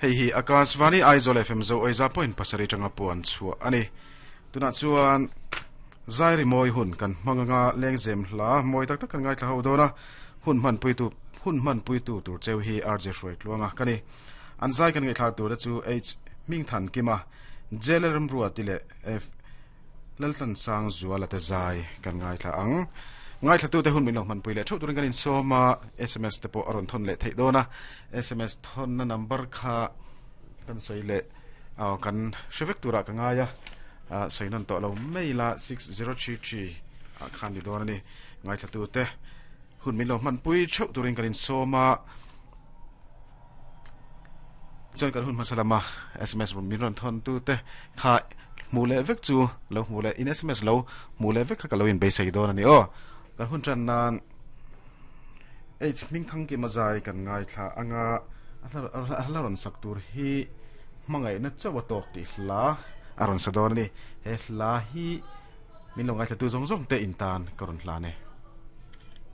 Hei hi Akashvani Aizawl FM Zo Oiza point pasarih atanga puan chhuah a ni. Tunah chuan Zairi mawi hun kan hmang anga lengzem hla mawi tak tak kan ngaithla ho dawn a, hun hmanpuitu hun hmanpuitu tur cheu hi RJ Hruaitluanga ka ni. An zai kan ngaihthlak tur te chu H Hmingthankima, JL Remruati leh F Laltlansang Zuala te zai kan ngaithla ang. Ngaithlatute hun min lo hmanpui leh theuh turin kan insawm a, sms te pawh a rawn thawn leh theih dawn a, sms thawnna number kha kan sawi leh aw kan hre vek turah ka ngai a, sawi nawn tawh lo mai la 6033 ah khan ni dawn a ni. Ngaithlatute hun min lo hmanpui theuh turin kan insawm a. Chuan kan hun hmasa lama sms min rawn thawn tu te kha hmuh leh vek chu lo hmuh leh in sms lo hmuh leh vek kha ka lo in beisei dawn a ni aw. Kan hun tan nan H Hmingthang Kima zai kan ngaithla anga a hla rawn sak tur hi hmangaihna chauh a tawk tih hla a rawn sa dawn a ni. He hla hi min lo ngaithla tu zawng zawng te in tan ka rawn hlan e.